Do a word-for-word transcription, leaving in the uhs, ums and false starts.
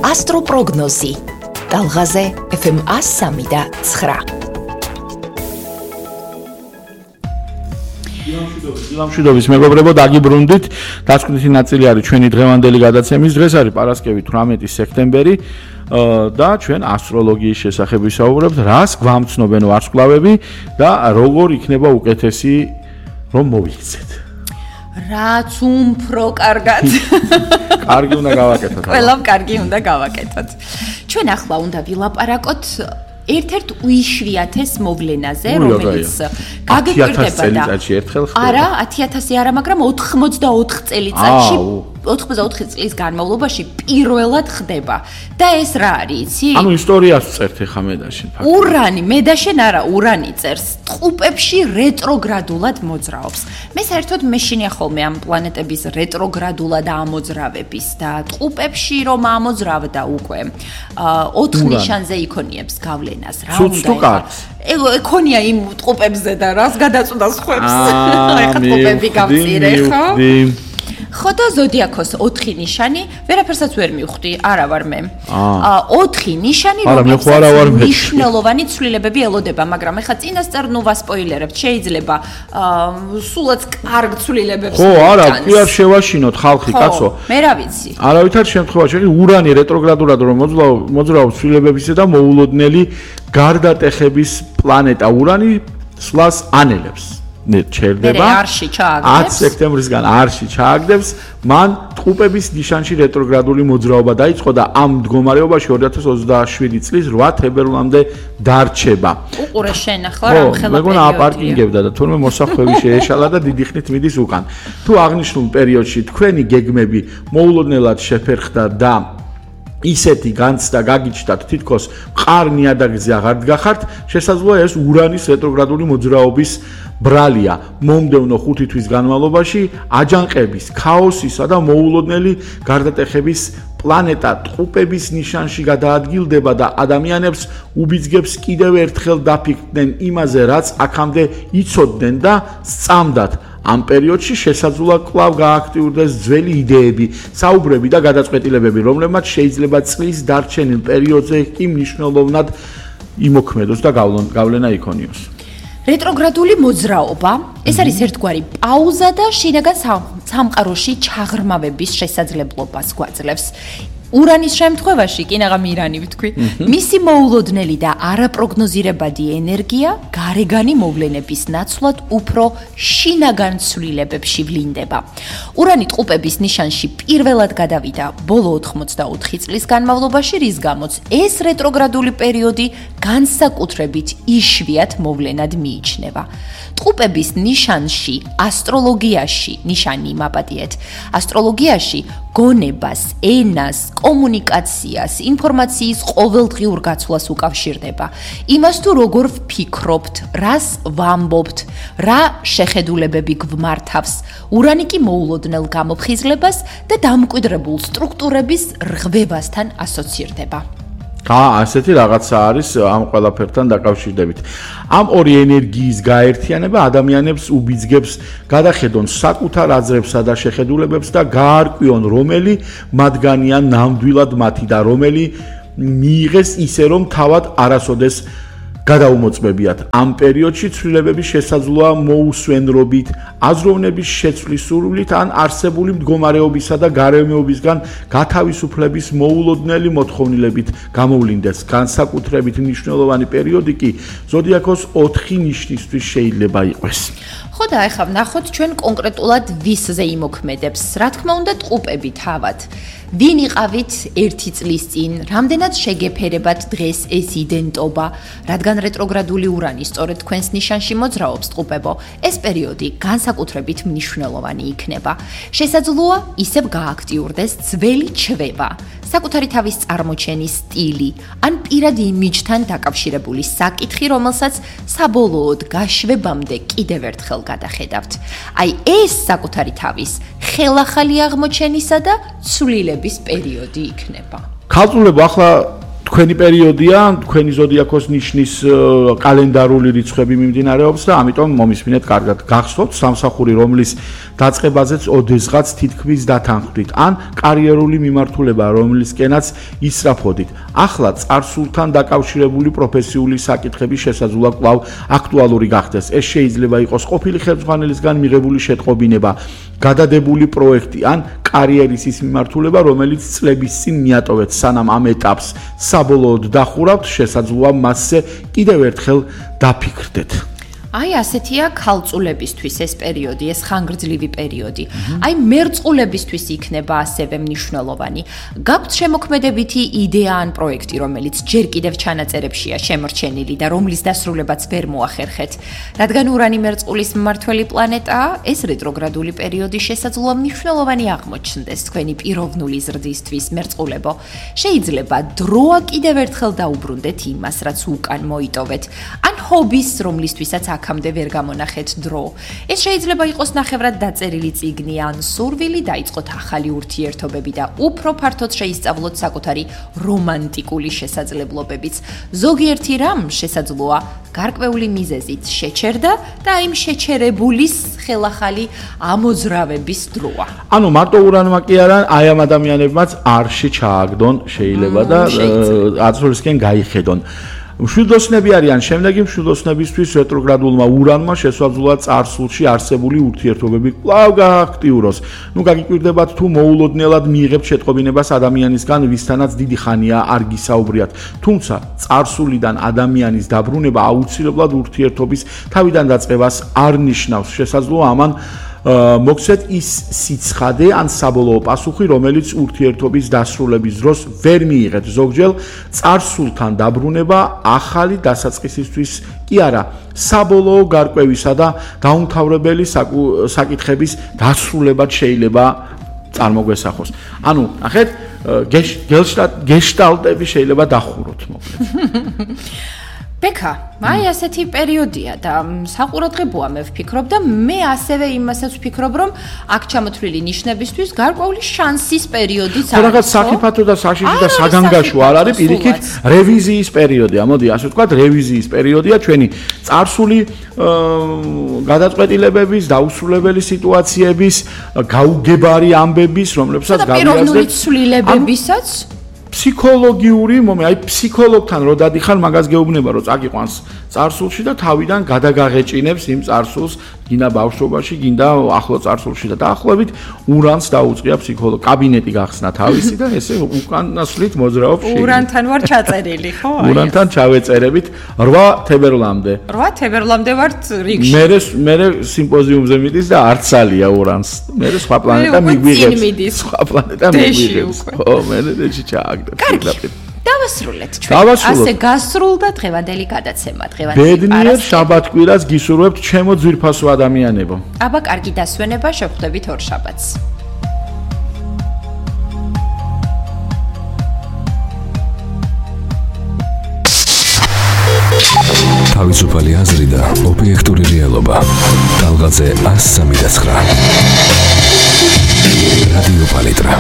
ასტროპროგნოზი. Talgaze F M one oh three და nine. დილამშვიდობის მეგობრებო, დაგიბრუნდით. დასკვნითი ნაწილი არის ჩვენი დღევანდელი გადაცემის. დღეს არის პარასკევი თვრამეტი სექტემბერი და ჩვენ ასტროლოგიის შესახებ ვისაუბრებთ, რას გვამცნობენ ვარსკვლავები და როგორ იქნება უკეთესი რომ მოვიქცეთ. რაც უფრო კარგად. კარგი უნდა გავაკეთოთ. ყველამ კარგი უნდა გავაკეთოთ. ჩვენ ახლა უნდა ვილაპარაკოთ ერთ-ერთ უიშვიათეს მოვლენაზე, რომელიც გაგიკვირდება და არა, ათი ათასი არა, მაგრამ ოცდაოთხ წელიწადში, ოცდაოთხ წლის განმავლობაში პირველად ხდება. და ეს რა არის, იცი? ანუ ისტორიას წერთ ახლა მედაშენ. ურანი, მედაშენ არა, ურანი წერს. ტყუპებში რეტროგრადულად მოძრაობს. მე საერთოდ მეშინია ხოლმე ამ პლანეტების რეტროგრადულად ამოძრავების და ტყუპებში რომ ამოძრავდა უკვე ოთხ ნიშანზე იქონიებს გავლენას. რა უნდა ეკონია იმ ტყუპებზე და რას გადაწყვდა სხვებს. ეხა ტყუპები გამწირე, ხო? ხო და ზოდიაქოს ოთხი ნიშანი, ვერაფერსაც ვერ მივხვდი, არა ვარ მე. ოთხი ნიშანი, რომელსაც მნიშვნელოვანი ცვლილებები ელოდება, მაგრამ ეხა წინასწარ ნუ ვასპოილერებთ, შეიძლება სულაც კარგ ცვლილებებს. ხო, არა, კი არ შევაშინოთ ხალხი, კაცო. მე რა ვიცი. არავითარ შემთხვევაში, ურანი რეტროგრადულად რომ მოძრაობს ცვლილებებისა და მოულოდნელი გარდატეხების პლანეტა ურანი სვლას ანელებს. ჩერდება ათი სექტემბრისგან არში ჩააგდებს, მან ტყუპების ნიშანში რეტროგრადული მოძრაობა დაიწყო და ამ მდგომარეობაში ორი ათას ოცდაშვიდი წლის რვა თებერვლამდე დარჩება. უყურე შენ ახლა რა ხელა პერიოდია. მეგონა აპარკინგებდა და თურმე მოსახვევი შეეშალა და დიდი ხნით მიდის უკან. თუ აღნიშნულ პერიოდში თქვენი გეგმები მოულოდნელად შეფერხდა და ისეთი განცდა გაგიჩნდათ, თითქოს მყარ ნიადაგზე აღარ დგახართ, შესაძლოა ეს ურანის რეტროგრადული მოძრაობის ბრალია. მომდევნო ხუთი თვის განმავლობაში აჯანყების, ქაოსისა და მოულოდნელი გარდატეხების პლანეტა ტყუპების ნიშანში გადაადგილდება და ადამიანებს უბიძგებს კიდევ ერთხელ დაფიქრდნენ იმაზე, რაც აქამდე იცოდნენ და სწამდათ. ამ პერიოდში შესაძლოა კვლავ გააქტიურდეს ძველი იდეები, საუბრები და გადაწყვეტილებები, რომლებმაც შეიძლება წლის დარჩენილ პერიოდზე კი მნიშვნელოვნად იმოქმედოს და გავლენა იქონიოს. რეტროგრადული მოძრაობა, ეს არის ერთგვარი პაუზა და შინაგან სამყაროში ჩაღრმავების შესაძლებლობას გვაძლევს. ურანის შემთხვევაში, კი ნაღამ ირანი ვთქვი, მისი მოულოდნელი და არაპროგნოზირებადი ენერგია გარეგანი მოვლენების ნაცვლად უფრო შინაგან ცვლილებებში ვლინდება. ურანი ტყუპების ნიშანში პირველად გადავიდა ბოლო ოთხმოცდაოთხი წლის განმავლობაში, რის გამოც ეს რეტროგრადული პერიოდი განსაკუთრებით იშვიათ მოვლენად მიიჩნევა. ტყუპების ნიშანში, ასტროლოგიაში, ნიშანი მაპატიეთ, ასტროლოგიაში გონებას, ენას, კომუნიკაციას, ინფორმაციის ყოველდღიურ გაცვლას უკავშირდება. იმას თუ როგორ ვფიქრობთ, რას ვამბობთ, რა შეხედულებები გვმართავს, ურანი კი მოულოდნელ გამოფხიზლებას და დამკვიდრებულ სტრუქტურების რღვევასთან ასოცირდება. აა, ასეთი რაღაცა არის ამ ყველაფერთან დაკავშირებით. ამ ორი ენერგიის გაერთიანება ადამიანებს უბიძგებს გადახედონ საკუთარ აზრებსა და შეხედულებებს და გაარკვიონ, რომელი მათგანია ნამდვილად მათი და რომელი მიიღეს ისე, რომ თავად არასოდეს გადაუმოწმებიათ. ამ პერიოდში ცვლილებები შესაძლოა მოუსვენრობით, აზროვნების შეცვლის სურვილით ან არსებული მდგომარეობისა და გარემოებისგან გათავისუფლების მოულოდნელი მოთხოვნილებით გამოვლინდეს. განსაკუთრებით მნიშვნელოვანი პერიოდი კი ზოდიაქოს ოთხი ნიშნისთვის შეიძლება იყოს. ხო და ახლა ვნახოთ ჩვენ კონკრეტულად ვისზე იმოქმედებს. რა თქმა უნდა, ტყუპები თავად. ვინ იყავით ერთი წლის წინ, რამდენად შეგეფერებათ დღეს ეს იდენტობა, რადგან რეტროგრადული ურანი სწორედ თქვენს ნიშანში მოძრაობს ტყუპებო, ეს პერიოდი განსაკუთრებით მნიშვნელოვანი იქნება. შესაძლოა ისევ გააქტიურდეს ძველი ჩვევა, საკუთარი თავის წარმოჩენის სტილი, ან პირად იმიჯთან დაკავშირებული საკითხი, რომელსაც საბოლოოდ გაშვებამდე კიდევ ერთხელ გადახედავთ. აი ეს საკუთარი თავის ხელახალი აღმოჩენისა და ცვლილების პერიოდი იქნება. ქალწულებო, ახლა თქვენი პერიოდია, თქვენი ზოდიაქოს ნიშნის კალენდარული რიცხვები მიმდინარეობს და ამიტომ მომისმინეთ კარგად. გახსოვთ სამსახური, რომლის დაწყებაზეც ოდესღაც თითქმის დათანხმდით, ან კარიერული მიმართულება, რომლისკენაც ისრაფოდით. ახლა წარსულთან დაკავშირებული პროფესიული საკითხები შესაძლოა კვლავ აქტუალური გახდეს. ეს შეიძლება იყოს ყოფილი ხელმძღვანელისგან მიღებული შეტყობინება, გადადებული პროექტი ან კარიერის ის მიმართულება, რომელიც წლების წინ მიატოვეთ, სანამ ამ ეტაპს საბოლოოდ დახურავთ, შესაძლოა მასზე კიდევ ერთხელ დაფიქრდეთ. აი ასეთია ქალწულებისთვის ეს პერიოდი, ეს ხანგრძლივი პერიოდი. აი მერწყულებისთვის იქნება ასევე მნიშვნელოვანი. გაქვთ შემოქმედებითი იდეა ან პროექტი, რომელიც ჯერ კიდევ ჩანაწერებშია შემორჩენილი და რომლის დასრულებაც ვერ მოახერხეთ. რადგან ურანი მერწყულის მმართველი პლანეტაა, ეს რეტროგრადული პერიოდი შესაძლოა მნიშვნელოვანი აღმოჩნდეს თქვენი პიროვნული ზრდისთვის, მერწყულებო. შეიძლება დროა კიდევ ერთხელ დაუბრუნდეთ იმას, რაც უკან მოიტოვეთ, ან ჰობის, რომლისთვისაც აქამდე ვერ გამონახეთ დრო. ეს შეიძლება იყოს ნახევრად დაწერილი წიგნი ან სურვილი დაიწყოთ ახალი ურთიერთობები და უფრო ფართოდ შეისწავლოთ საკუთარი რომანტიკული შესაძლებლობებიც. ზოგიერთი რამ შესაძლოა გარკვეული მიზეზით შეჩერდა და იმ შეჩერებულის ხელახალი ამოძრავების დროა. ანუ მარტო ურანმა კი არა, აი ამ ადამიანებმაც არში ჩააგდონ შეიძლება და აწოლისკენ გაიხედონ. მშვიდოსნები არიან, შემდეგი მშვიდოსნებისთვის რეტროგრადულმა ურანმა შესაძლოა წარსულში არსებული ურთიერთობები კვლავ გააქტიუროს. ნუ გაგიკვირდებათ თუ მოულოდნელად მიიღებთ შეტყობინებას ადამიანისგან, ვისთანაც დიდი ხანია არ გისაუბრიათ. თუმცა წარსულიდან ადამიანის დაბრუნება აუცილებლად ურთიერთობის თავიდან დაწყებას არ ნიშნავს. შესაძლოა ამან მოგცეთ ის სიცხადე ან საბოლოო პასუხი, რომელიც ურთიერთობის დასრულების დროს ვერ მიიღეთ. ზოგჯერ წარსულთან დაბრუნება ახალი დასაწყისისთვის კი არა, საბოლოო გარკვევისა და დაუმთავრებელი საკითხების დასრულებად შეიძლება წარმოგვესახოს. ანუ, ნახეთ, გეშტალტები შეიძლება დახუროთ, მოკლედ. ბექა, აი ასეთი პერიოდია და საყურადღებოა მე ვფიქრობ და მე ასევე იმასაც ვფიქრობ, რომ აქ ჩამოთვლილი ნიშნებისთვის გარკვეული შანსის პერიოდიც არის. რაღაც საფრიფათო და საშიში და საგანგაშო არ არის, პირიქით რევიზიის პერიოდია. მოდი, ასე ვთქვათ, რევიზიის პერიოდია ჩვენი წარსული გადაწყვეტილებების, დაუსრულებელი სიტუაციების, გაუგებარი ამბების, რომლებსაც გავიაზრეთ. და პიროვნული ცვლილებებისაც ფსიქოლოგიური მომენტი, აი ფსიქოლოგთან რო დადიხარ, მაგას გეუბნება, რომ წაგიყვანს წარსულში და თავიდან გადაგაღეჭინებს იმ წარსულს, გინდა ბავშვობაში, გინდა ახლო წარსულში და დაახლოებით ურანს დაუწყია ფსიქოლოგ კაბინეტი გახსნა თავისი და ესე უკანასვლით მოძრაობს შე. ურანთან ვარ ჩაწერილი, ხო? ურანთან ჩავეწერებით რვა თებერვლამდე. რვა თებერვლამდე ვართ რიგში. მე მე სიმპოზიუმზე მიდის და არცალია ურანს. მე სხვა პლანეტა მიგვიღებს. სხვა პლანეტა მიგვიღებს. ხო, მე დეში ჩააგდა. კარგი. დავასრულეთ ჩვენ. ასე გასრულდა დღევანდელი გადაცემა, დღევანდელი პარასკევი. ბედნიერ შაბათ-კვირას გისურვებთ, ჩემო ძვირფასო ადამიანებო. აბა, კარგი დასვენება, შევხვდებით ორ შაბათს. თავისუფალი აზრი და ობიექტური რეალობა. ტალღაზე ასი სამი და ცხრა. რადიო პალიტრა.